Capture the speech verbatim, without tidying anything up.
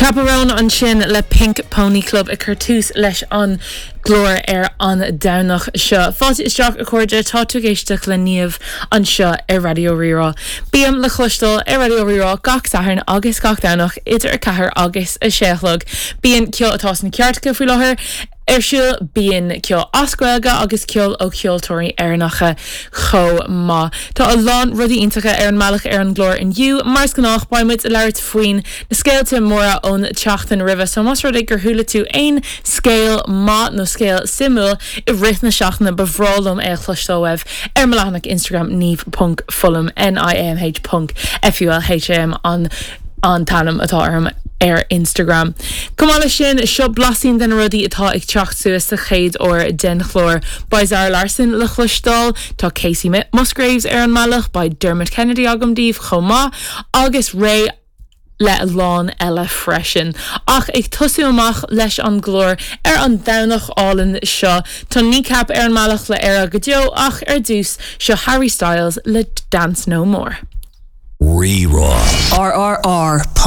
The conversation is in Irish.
Chappell Roan ansin le Pink Pony Club ag cur tús leis an gclár ar an Domhnach seo. Fáilte isteach a chairde tá tú ag éisteacht le Niamh anseo ar Raidió Rí-Rá. Bím le cloisteáil ar Raidió Rí-Rá gach Satharn agus gach Domhnach idir a ceathair agus a sé a chlog. Bíonn ceol atá sna cairteacha faoi láthair ar siúl bíonn ceol as Gaeilge agus ceol ó cheoltóirí Éireannacha chomh maith. Tá a lán rudaí iontacha ar an mbealach ar an gclár inniu, mar is gnách beimid ag labhairt faoin na scéalta móra ón tseachtain roimhe, so más rud é gur chuala tú aon scéal maith nó scéal suimiúil i rith na seachtaine ba bhreá liom é a chloisteáil uaibh ar mo leathanach Instagram niamh.fulham N-I-A-M-H ponc F-U-L-H-A-M an an t-ainm atá orm ar Instagram. Chomh maith leis sin seo blaisín de na rudaí atá ag teacht suas sa chéad uair den chlár. Beidh Zara Larsson le chloisteáil, tá Kacey Musgraves ar an mbealach, beidh Dermot Kennedy agam daoibh chomh maith, agus réidh le a lán eile freisin. Ach ag tosú amach leis an gclár ar an Domhnach álainn seo, Tá Kneecap ar an mbealach le Éire go deo ach ar dtús seo Harry Styles le Dance No More. Rí-Rá. RRR.ie